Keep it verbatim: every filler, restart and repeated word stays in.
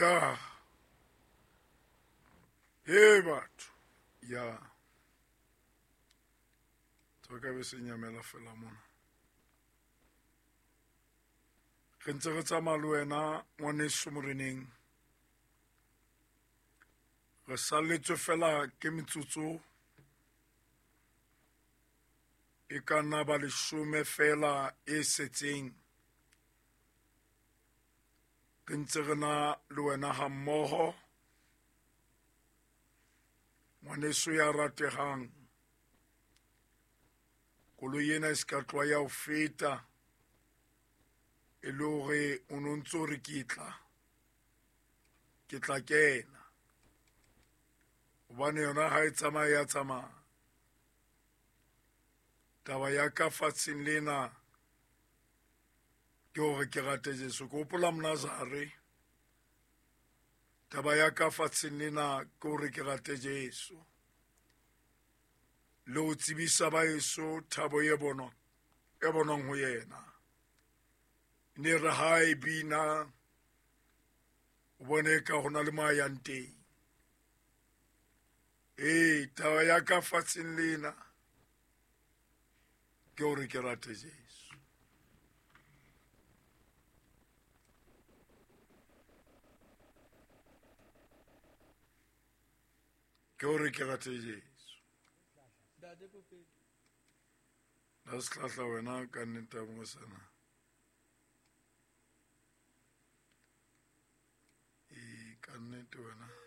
Ya. Hey batho. Ya. Tsoka be se nyamela fela mona. Re ntse re tsamaya le wena ngwaneso moreneng. Re salletswe fela ke metsotso e ka nna ba leshome fela e setseng. Re ntse re na le wena ha mmoho. Ngwaneso ya ratehang. Koloi ena e se ka tloha ya ho feta. E le hore o no ntso re ke tla. Ke tla kena. Hobane yona ha e tsamaya ya tsamaya. Taba ya ka fatsheng lena ke hore ke rate Jesu. Ke hopola Monazare. Taba ya ka fatsheng lena ke hore ke rate Jesu. Le ho tsebisa ba heso thabo e bonwang, e bonwang ho yena. Ne re ha e bina, o bone ka ho na le mo a yang teng. Ee, taba ya ka fatsheng lena ke hore ke rate Jesu. Ke hore ke rate Jesu. La sehlahla wena ka nnete ya bongosana. Ee, ka nnete wena.